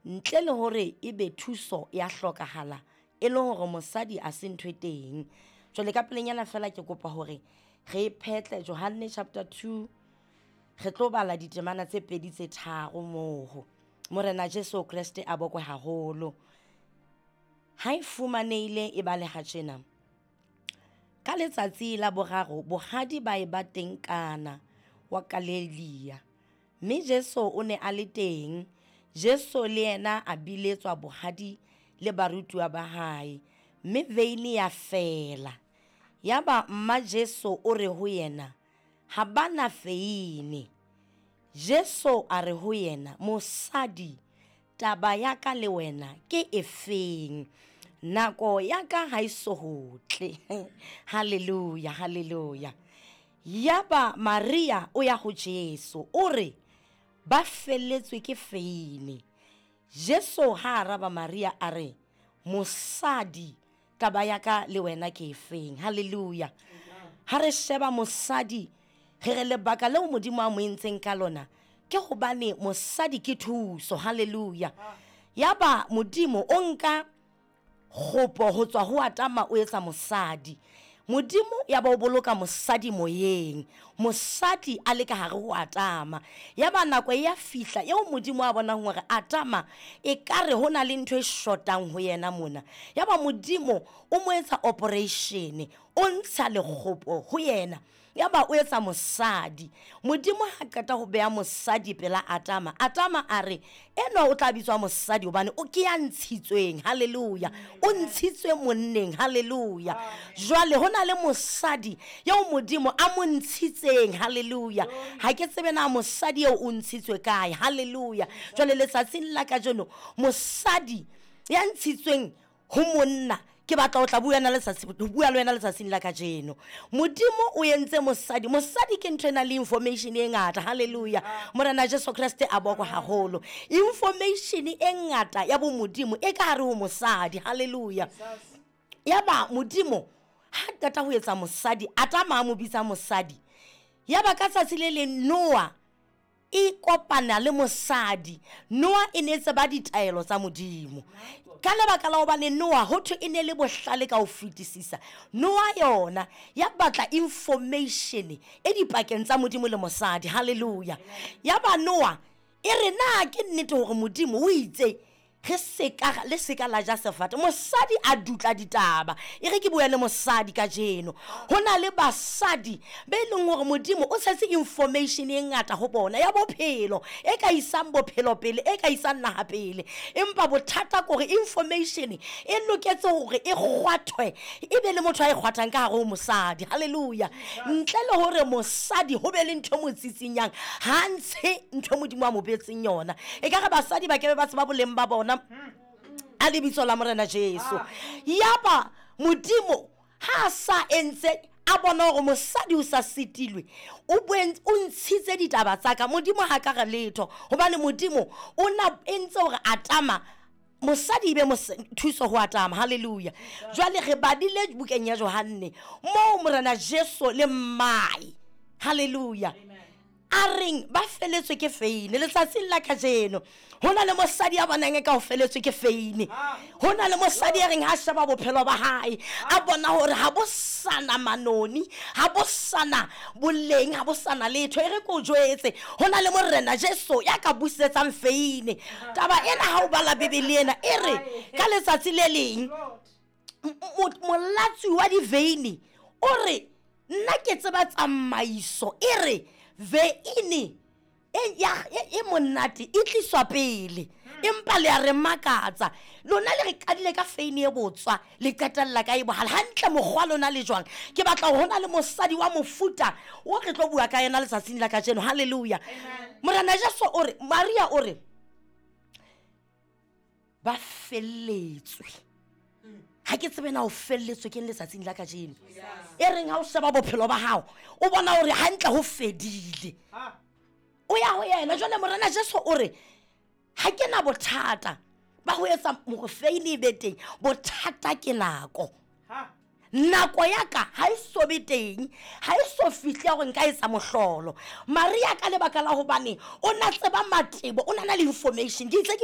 Ntle le hore ebe thuso ya hlokahala e le hore mosadi a se ntho e teng. Jwale ka pelenyana fela ke kopa hore re phetle Johanne chapter 2, re tlo bala ditemana tse pedi tse tharo moo. Morena Jesu Kreste a bokwe haholo. Ha e fumanehile e baleha tjena. Ka letsatsi la boraro bohadi ba eba teng Kana wa Galilea, mme Jesu o ne a le teng. Jesu le yena a biletswa bohadi le barutuwa ba hae, mme veine ya fela. Yaba mma Jesu o re ho yena, ha ba na veine. Jesu a re ho yena, mosadi, taba ya ka le wena ke efeng? Nako ya ka ha e so ho tle. Haleluya, haleluya. Yaba Maria o ya ho Jesu, o re, ba felletswe ke veine. Jesu ha araba Maria a re, mosadi, taba ya ka le wena ke efeng? Haleluya. Ha re sheba mosadi, re re lebaka leo Modimo a mo entseng ka lona ke hobane mosadi ke thuso. Haleluya. Yaba Modimo o nka kgopo ho tswa ho Adama o etsa mosadi. Modimo ya ba o boloka mosadi moyeng, mosadi a le ka hare ho Adama. Ya ba nako e ya fihla eo Modimo a bonang hore Adama e ka re ho na le ntho e shotang ho yena mona. Ya ba Modimo o mo etsa operation, o ntsha lekgopo ho yena. Ya ba o etsa mosadi. Modimo ha qeta ho beha mosadi pela Adama, Adama a re, enwa o tla bitswa mosadi hobane o ke ya ntshitsweng. Haleluya. O ntshitswe monneng. Haleluya. Jwale ho na le mosadi eo Modimo a mo ntshitseng. Haleluya. Ha ke tsebe na mosadi eo o ntshitswe kae. Haleluya. Jwale letsatsing la kajeno mosadi ya ntshitsweng ho monna, ke batla ho tla bua na letsatsi, ho bua le wena letsatsing la kajeno. Modimo o entse mosadi. Mosadi ke ntho e nang le information e ngata. Haleluya. Morena Jesu Kreste a bokwe haholo. Information e ngata ya bomodimo e ka hare ho mosadi. Haleluya. Yaba Modimo ha qeta ho etsa mosadi, Adama a mo bitsa mosadi. Yaba ka tsatsi le leng Noah e kopana le mosadi. Noa e ne e tseba ditaelo tsa Modimo. Ka lebaka la hobane Noa ho thwe e ne le bohlale ka ho fetisisa, Noa yona ya batla information e dipakeng tsa Modimo le mosadi. Haleluya. Ya ba Noa e re, na ke nnete hore Modimo o itse re seka le seka la ja sefate? Mosadi a dutla ditaba. E re ke bua le mosadi kajeno. Ho na le basadi be leng hore Modimo o tshetse information e ngata ho bona ya bophelo, e ka isang bophelo pele, e ka isang naha pele. Empa bothata ke hore information e loketse hore e kgwathwe, e be le motho a e kgwathang ka hare ho mosadi. Haleluya. Ntle le hore mosadi ho be le ntho e mo tsitsinyang, ha ntshe ntho e Modimo a mo beetseng yona. E ka re basadi ba kebe ba tseba boleng ba bona a lebitso la Morena Jesu. Yaba Modimo ha a sa entse a bona hore mosadi o sa sitilwe, o ntshitse ditaba tsa ka. Modimo ha ka re letho, hobane Modimo o na entse hore Adama mosadi e be thuso ho Adama. Haleluya. Jwale re badile bukeng ya Johanne moo Morena Jesu le mmae, haleluya, a reng ba feletswe ke feine. Letsatsing la kajeno ho na le mosadi ya bonang e ka o feletswe ke feine. Ho na le mosadi ya reng ha sheba bophelo ba hae a bona hore ha bo sana manoni, ha bo sana boleng, ha bo sana letho. E re ke o jwetse, ho na le Morena Jesu ya ka busetsang feine. Taba ena ha o bala Bibele ena e re ka letsatsi le leng molatswi wa diveine o re, nna ke tseba tsamaiso e re veine e monate e tliswa pele, empa le a re makatsa lona, le re qadile ka feine e botswa, le qetella ka e bohale. Hantle mokgwa lona le jwang? Ke batla hore ho na le mosadi wa mofuta o re tlo bua ka yena letsatsing la kajeno. Haleluya. Morena Jesu o re, Maria o re ba felletswe. Ha ke tsebe na o felletswe ke letsatsing la kajeno. E reng ha o sheba bophelo ba hao o bona hore hantle ho fedile, o ya ho yena. Jwale Morena Jesu o re, ha ke na bothata ba ho etsa hore feine e be teng, bothata ke nako. Nako ya ka ha e so be teng, ha e so fihle ya gore nka etsa mohlolo. Maria ka lebaka la hobane o na tseba matebo, o na na le information. Ke itse ke bua